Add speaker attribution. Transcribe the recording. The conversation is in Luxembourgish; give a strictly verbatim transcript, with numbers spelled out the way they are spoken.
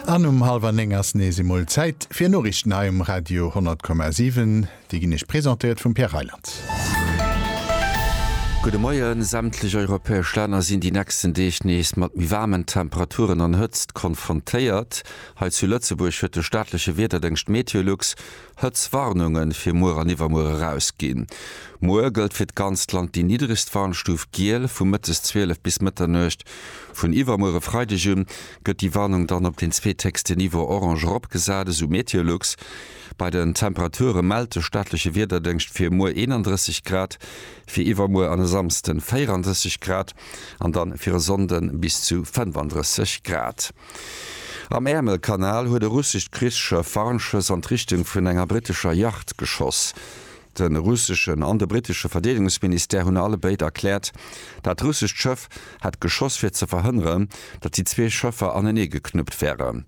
Speaker 1: An um hallwer néng ass nees emol Zäit fir Noriichten hei um Radio honnert Komma siwen. Déi ginn Iech presentéiert vum Pierre Reyland.
Speaker 2: Gudde Moien. Sämtlech europäesch Länner sinn déi nächsten Deeg nees mat méi waarmen Temperaturen an Hëtzt konfrontéiert. Hei zu Lëtzebuerg huet de staatleche Wiederdéngscht Meteolux Hëtztwarnunge fir muer an iwwermuer erausginn. Muer gëllt fir d'ganzt Land déi niddregst Warnstuf giel vu mëttes zwielef bis Mëtternuecht. Vun iwwermuer e Freideg un gëtt déi Warnung dann op den zweethéchsten Niveau orange eropgesat, esou Meteolux. Bei den Temperature mellt de staatleche Wiederdéngscht fir muer eenandrësseg Grad, fir iwwermuer an e Samsden véierandrësseg Grad an dann fir e Sonnde bis zu fënnefandrësseg Grad. Am Äermelkanal huet e russescht Krichsschëff Warnschëss an d'Richtung vun enger brittescher Yacht geschoss. De russeschen an de brittesche Verdeedegungsministère hunn allebéid erkläert, dat russescht Schëff hätt geschoss fir ze verhënneren, datt déi zwee Schëffer anenee geknuppt wären.